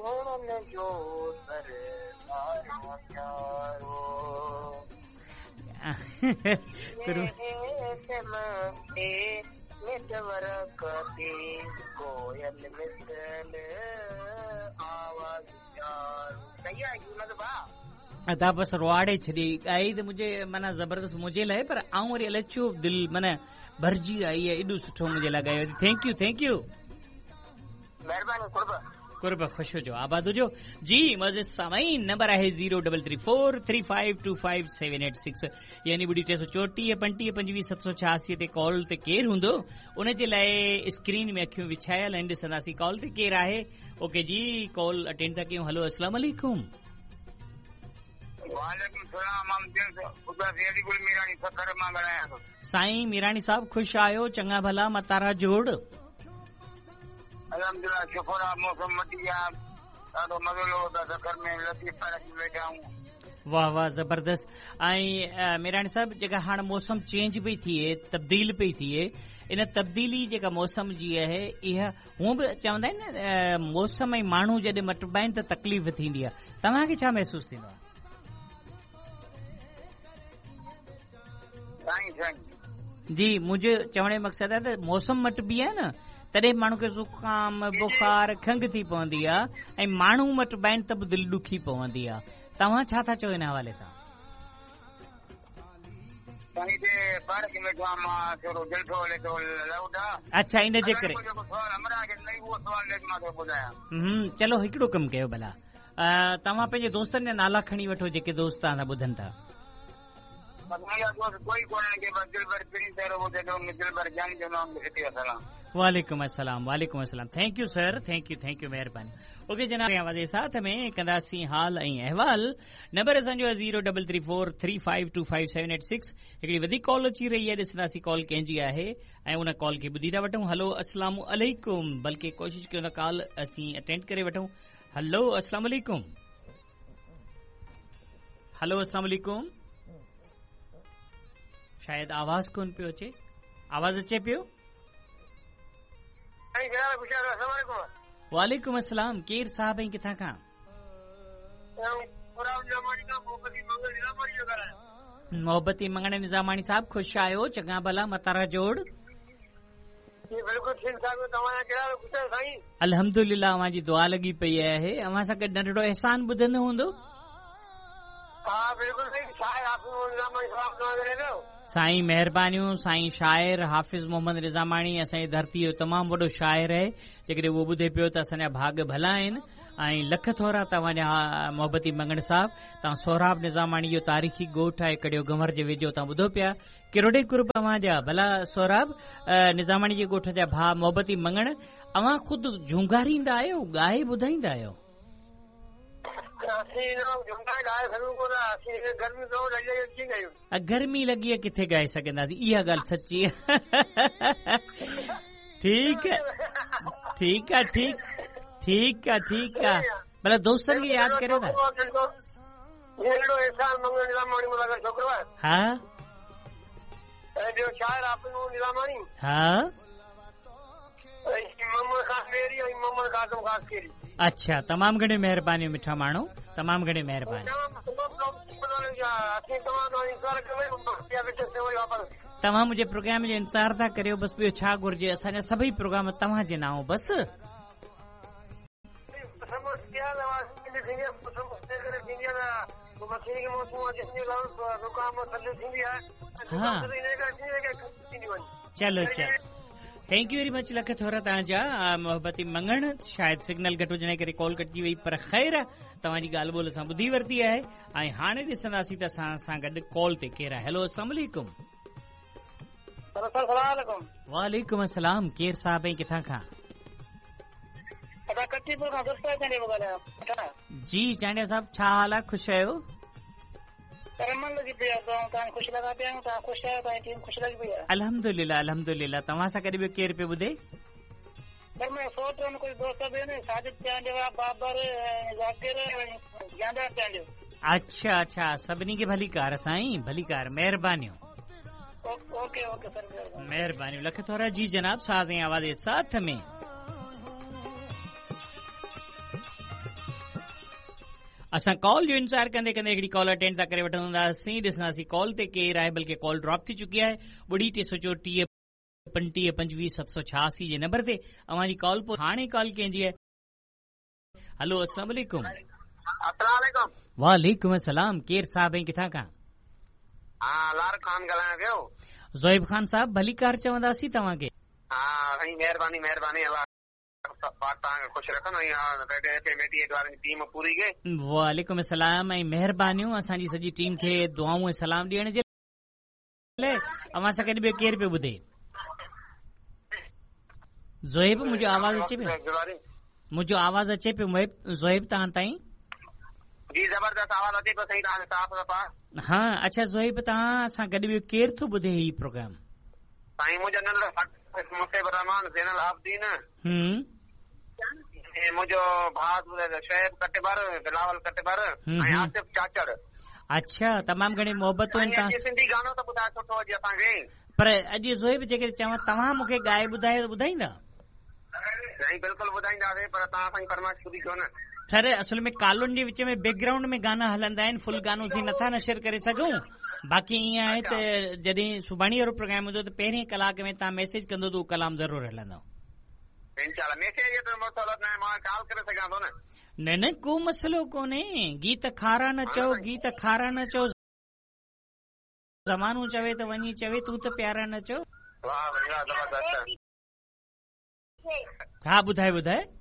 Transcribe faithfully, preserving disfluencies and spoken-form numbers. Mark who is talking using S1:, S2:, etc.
S1: गुणनि जो सर प्यारो। नेटवर्क ते कोयल मिसल आवाज़ प्यारो। सही आहे मतलब
S2: अदा बसि रुआड़े छॾी ॻाई त मुंहिंजे माना ज़बरदस्त मुंहिंजे लाइ, पर आउं वरी अलाए छो दिलि माना भरिजी आई आहे, एॾो सुठो मुंहिंजे लाइ ॻायो। Thank you, thank you,
S1: महिरबानी, कुर्ब
S2: कुर्ब, ख़ुशि हुजो, आबाद हुजो। जी मज़े सामाईन, नंबर आहे zero double three four three five two five seven eight six, यानी ॿुड़ी टे सौ चोटीह पंटीह पंजवीह सत सौ छियासी ते कॉल ते केरु हूंदो, उन जे लाइ स्क्रीन में अखियूं विछायल आहिनि, ॾिसंदासीं कॉल ते केरु आहे। ओके जी, कॉल अटेंड था कयूं। हलो, अस्सलाम वालेकुम।
S1: वालेकुम सलाम। मीरानी सखर मां ॻाल्हायां थो।
S2: साईं मीरानी साहब, ख़ुशि आहियो? चङा भला, मतारा जोड़?
S1: अल्हम्दुलिल्लाह, शुक्र आहे, मौसम मटी आहे, ॾाढो मज़ो लॻो था सखर में, लतीफ़ पार्क में वेठा आहियूं।
S2: वाह वाह, ज़बरदस्त। ऐं मीरानी साहब, जेका हाणे मौसम चेंज पई थिए, तब्दील पई थिए, इन तब्दीली जेका मौसम जी आहे, इहा हूअं बि चवंदा आहिनि न, मौसम ऐं माण्हू जॾहिं मटिबा आहिनि त तकलीफ़ थींदी आहे। तव्हांखे छा महसूसु थींदो आहे?
S1: साईं साईं
S2: जी, मुंहिंजो चवण जो मक़सदु आहे त मौसम मटिबी आहे न, तॾहिं माण्हू खे ज़ुकाम, बुखार, खंघ थी पवंदी आहे, ऐं माण्हू मटिबा आहिनि त बि दिलि ॾुखी पवंदी आहे। तव्हां छा था चओ हिन हवाले सां? अच्छा, इन जे करे चलो हिकिड़ो कमु कयो भला, तव्हां पंहिंजे दोस्तनि जा नाला खणी वठो जेके दोस्त तव्हां सां ॿुधनि था। वालेकुम अस्सलाम, वालेकुम अस्सलाम। Thank you sir, thank you, thank you, मेहरबानी। ओके जनाब, आवाज़ साथ में कंदासीं हाल ऐं अहवाल। नंबर असांजो zero double three four three five two five seven eight six. हिकिड़ी वधीक कॉल अची रही आहे, ॾिसंदासीं कॉल कंहिंजी आहे ऐं उन कॉल खे ॿुधी था वठूं। हलो, अस्सलाम अलैकुम। बल्कि कोशिशि कयूं था कॉल असीं अटेंड करे वठूं। हलो, अस्सलाम अलैकुम। हलो, अस्सलाम अलैकुम। शायदि आवाज़ कोन पियो अचे, आवाज़ अचे पियो? वालेकुम अस्सलाम। केरु साहब ऐं किथां खां? मोहबती मंगण निज़ामाणी साहब, ख़ुशि आहियो? चङा भला, मतारा जोड़? अल्हम्दुलिल्लाह, अव्हां जी दुआ लॻी पई आहे। अव्हां सां गॾु नंढड़ो एहसान ॿुधंदो हूंदो? साईं महिरबानियूं। साईं शाइर हाफ़िज़ मोहम्मद निज़ामाणी असांजी धरती जो तमामु वॾो शाइर आहे, जेकॾहिं उहो ॿुधे पियो त असांजा भाॻ भला आहिनि। ऐं लख थोरा तव्हांजा मोहबती मंगण साहब। तव्हां सोहराब निज़ामाणी जो तारीख़ी ॻोठु आहे कड़ियो गंवर जे वेझो, तव्हां ॿुधो पिया, किरोड़े कुर्ब अव्हांजा। भला सोहराब निज़ामाणी जे ॻोठ जा भाउ मोहबती मंगण, अव्हां ख़ुदि झूंगारींदा आहियो, ॻाए ॿुधाईंदा आहियो? गर्मी लॻी आहे, किथे ॻाए सघंदासीं? इहा ॻाल्हि सची आहे। ठीकु आहे, ठीकु आहे, ठीकु ठीकु आहे, ठीकु आहे। भला दोस्तनि खे यादि करियो था। हा हा, अच्छा, तमामु घणी महिरबानी मिठा माण्हू, तमामु घणी महिरबानी। तव्हां मुंहिंजे प्रोग्राम जो इंतज़ारु था करियो, बसि ॿियो छा घुरिजे? असांजा सभई प्रोग्राम तव्हांजे नाम बसि। हा, चलो चलो, thank you very much, lakh थोरा तव्हांजा मोहबती मंगण। शायदि सिग्नल घटि हुजण जे करे कॉल कटिजी वई, पर ख़ैर तव्हांजी ॻाल्हि ॿोल असां ॿुधी वरिती आहे। ऐं हाणे ॾिसंदासीं त असां सां गॾु कॉल ते केरु आहे। हेलो, अस्सलाम वालेकुम। वालेकुम अस्सलाम। केरु साहब ऐं किथां खां? जी चांडिया साहब, छा हाल आहे? ख़ुशि आहियो? अल्हम्दुलिल्लाह, अल्हम्दुलिल्लाह। तव्हां सां गॾु ॿियो केरु पियो ॿुधे? अच्छा अच्छा, सभिनी खे भलीकार साईं, भलीकार, महिरबानियूं। महिरबानियूं, लख थोरा। जी जनाब, साज़ ऐं आवाज़ साथ में। असां कॉल जो इंतज़ार कंदे कंदे हिकिड़ी कॉल अटेंड था करे वठंदासीं, ॾिसंदासीं कॉल ते केरु आहे, बल्कि कॉल ड्रॉप थी चुकी आहे। ॿुड़ी टे सौ चोटीह पंटीह पंजवीह सत सौ छयासी जे नंबर ते अव्हां जी कॉल। पोइ हाणे कॉल कंहिंजी आहे? हलो, अस्सलाम वालेकुम।
S1: अस्सलाम वालेकुम।
S2: वालेकुम अस्सलाम। केरु साहब ऐं किथां खां?
S1: हा, लार खान ॻाल्हायां पियो।
S2: ज़ोएब खान साहब, भलीकार चवंदासीं तव्हांखे।
S1: हा साईं, महिरबानी महिरबानी, अलाह पाक तव्हांखे ख़ुशि रखंदो। ऐं टीम पूरी खे
S2: वालेकुम अस्सलाम ऐं महिरबानियूं असांजी सॼी टीम खे दुआऊं ऐं सलाम ॾियण जे लाइ। अव्हां सां गॾु ॿियो केरु पियो ॿुधे? ज़ोएब, मुंहिंजो आवाज़ अचे पियो? मुंहिंजो आवाज़ अचे पियो ज़ोएब तव्हां ताईं?
S1: जी ज़बरदस्त आवाज़ अचे पियो साईं, तव्हां साफ़ सफ़ा।
S2: हा, अच्छा ज़ोएब, तव्हां सां गॾु ॿियो केरु थो ॿुधे हीउ प्रोग्राम?
S1: साईं मुंहिंजो नंढो मुसेब रहमान ज़ैनल आबदीन,
S2: हम्म,
S1: ऐं मुंहिंजो भाउ शोएब कटबर, बिलावल कटबर ऐं आसिफ चाचड़।
S2: अच्छा, तमामु घणी मोहबतूं आहिनि तव्हां।
S1: सिंधी गानो त ॿुधाए सुठो अॼु असांखे।
S2: पर अॼु ज़ोएब, जेकॾहिं चवां तव्हां मूंखे ॻाए ॿुधायो त ॿुधाईंदा?
S1: साईं बिल्कुलु ॿुधाईंदासीं, पर तव्हां असांजी फरमाइश पूरी कयो न।
S2: सर, असल में कॉलुनि जे विच में बैकग्राउंड में गाना हलंदा आहिनि, फुल गानो असीं नथा नशर करे सघूं। बाक़ी ईअं आहे त जॾहिं सुभाणे वारो प्रोग्राम हूंदो त पहिरीं कलाक में तव्हां मैसेज कंदो त उहो कलाम ज़रूरु हलंदो।
S1: इंशाअल्लाह। मैसेज जो त मसइलो न आहे, मां कॉल करे सघां थो न।
S2: न न, को मसइलो कोन्हे। गीत खारा न चओ, गीत खारा न चओ, ज़मानो चवे त वञी चवे, तूं त प्यारा न चओ।
S1: वाह भाई वाह, ज़बरदस्त।
S2: हा, ॿुधाए ॿुधाए।